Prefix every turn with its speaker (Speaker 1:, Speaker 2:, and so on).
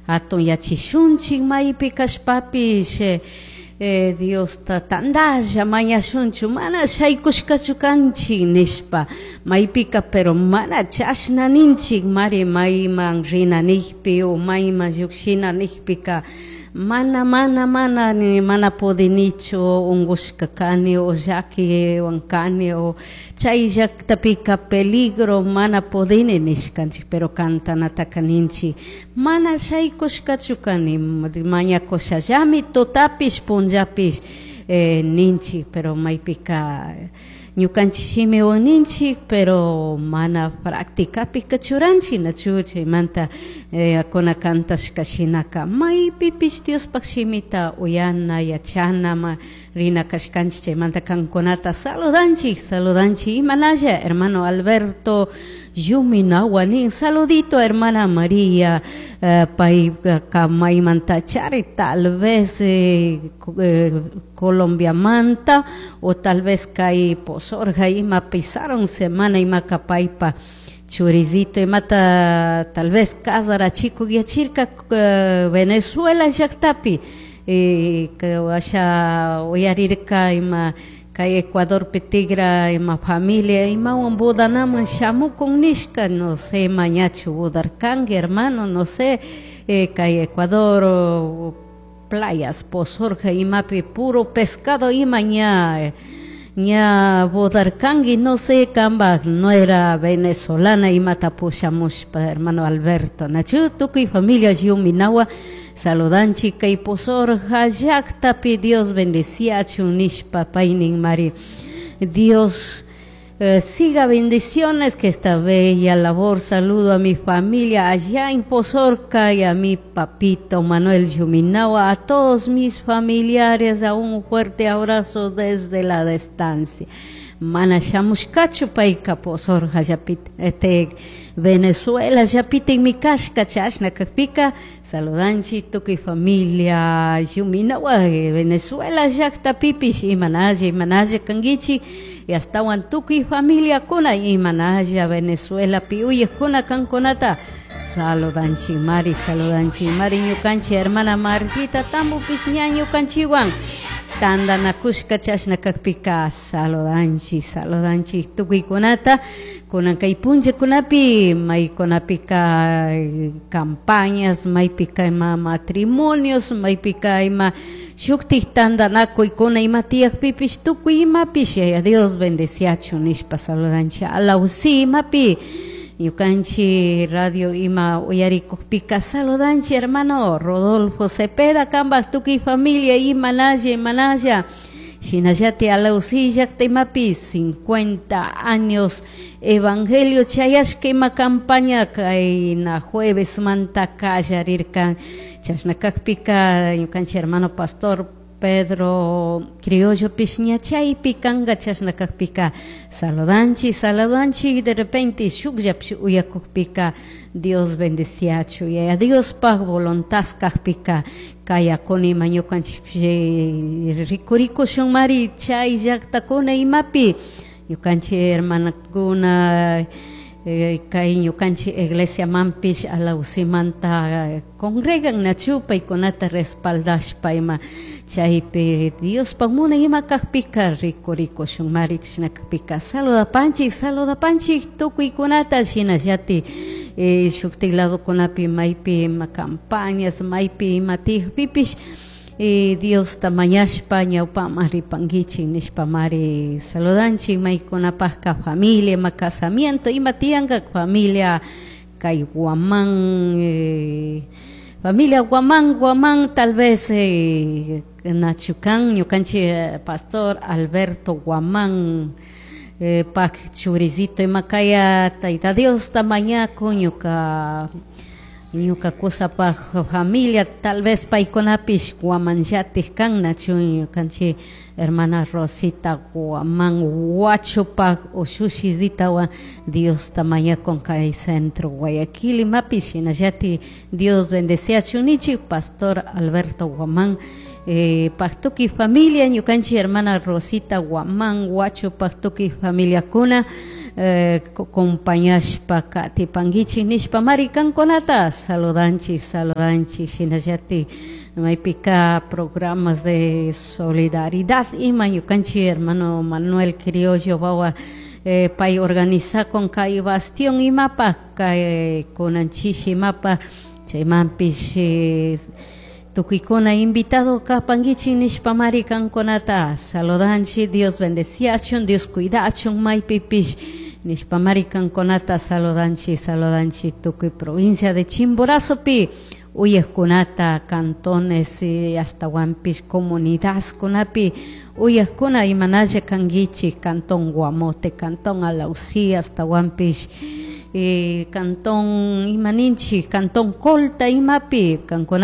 Speaker 1: Hatunyachishunchik maypi kashpapish Diosta tandalla mañashunchu mana shaykushkachu kanchik nishpa maypika, pero mana chashna ninchik mari mayman rina nijpi o mayman llukshina nijpika mana mana mana mana pudinichu, ungushka kani o llakiwan kani o chay llaktapika peligro mana pudini nishkanchik, pero cantanataka ninchik mana shaykushkachu kani, mañakushallami tutapish punllapish ninchik, pero maypika ñukanchik shimiwan ninchik, pero mana practicapika churanchik nachu. Chaymanta kuna cantashka shinaka maypipish Diospaj shimita uyana yachana ma rina kashkanchik. Chaymanta kankunata saludanchik, saludanchik imanalla hermano Alberto Yuminawa nin saludito hermana María, payka maymanta chari tal vez Colombiamanta o tal vez kay Posorja ima pisaron semana imaka paypa churizito imata tal vez casarachikuyachirka Venezuela llaktapi, asha uyarirka ima kay Ecuadorpi tigra ima familia imawan bodanaman shamukun nishka, no sé mañachu bodarkanki hermano, no sé, kay Ecuador playas Posorja imapi puro pescado ima ña bodarkanki, no sé, kambaj no era venezolana imata pushamushpa hermano Alberto nachu. Tukuy familia Yuminawa saludanchik kay Posorja llaktapi, Dios bendeciachun nishpa paynin mari. Dios siga bendiciones que esta bella labor. Saludo a mi familia allá en Pozorca y a mi papito Manuel Yuminawa, a todos mis familiares, a un fuerte abrazo desde la distancia. Mana shamushkachu payka Pozorja llapita, Venezuela llapita mi kashka chashna kakpika saludanchi tukuy familia Yuminawa Venezuela llaktapipish imanalla imanalla kankichik y astawan tukuy familiakuna imanalla Venezuelapi uyakuna kankunata saludanchi mari, saludanchi mari ñukanchik hermana Martita Tambopish ña ñukanchikwan tandanakushka chashna kakpika saludanchik, saludanchik tukuykunata. Kunan kay punllakunapi maykunapika campañas, maypika ima matrimonios, maypika ima shuktik tandanakuykuna ima tiyakpipish tukuy imapish Yaya Dios bendeciachun nishpa saludanchik. Alausi imapi ñukanchik radio ima uyarikukpika saludanchik hermano Rodolfo Cepeda kambaj tukuy familia imanalla imanalla. Shinallati alausi llakta imapi 50 años evangelio chayashka ima campaña kayna jueves manta kallarirkan chashna kakpika ñukanchik hermano pastor Pedro Criollo pish ña chaypi kanka chashna kakpika saludanchik, saludanchik de repente shukllapish uyakukpika Dios bendeciachu Yaya Diospaj voluntad kakpika kayakuni ima ñukanchik rikurikushun mari chay llaktakuna imapi ñukanchik hermanakuna kay ñukanchik iglesia manpish alausimanta congregan nachu paykunata respaldashpa ima chaypi Diospaj munay ima kakpika rikurikushun mari chashna kakpika saludapanchik, saludapanchik tukuykunata shinallati shuktik ladokunapi maypi ima campañas maypi ima tiyakpipish Diosta mañashpa ñawpaman ripankichik nishpa mari saludanchik maykunapajka familia ima casamiento ima tiyanka familia kay Guamán, familia Guamán, Guamán tal vez nachukan ñukanchik pastor Alberto Guamán pak churizito ima kaya Tayta Diosta mañakun ñuka ñuka kusapaj familia tal vez paykunapish Guamanllatik kan nachu ñukanchik hermana Rosita Guamán Huachupaj ushushizhitawan Diosta mañakun kay centro Guayaquil imapish shinallati Dios bendeciachun nichik pastor Alberto Guamán. Pajtuki familia ñukanchik hermana Rosita Guamán Huacho Pajtuki familiakuna compañashpa katipankichik nishpa mari kankunata saludanchik saludanchik shinallatik maypika programas de solidaridad ima ñukanchik hermano Manuel Criollo wawa pay organizakun kay bastión imapa kay kunan chishi imapa chaymanpish tukuykuna invitado kapankichik nishpa mari kankunata saludanchik. Dios bendeciachun, Dios cuidachun maypipish nishpa mari kankunata saludanchik saludanchik tukuy provincia de Chimborazopi uyajkunata cantones ashtawanpish comunidadkunapi uyajkuna imanalla kankichik cantón Guamote, cantón Alausí, ashtawanpish cantón imaninchik cantón Colta imapi kankunata.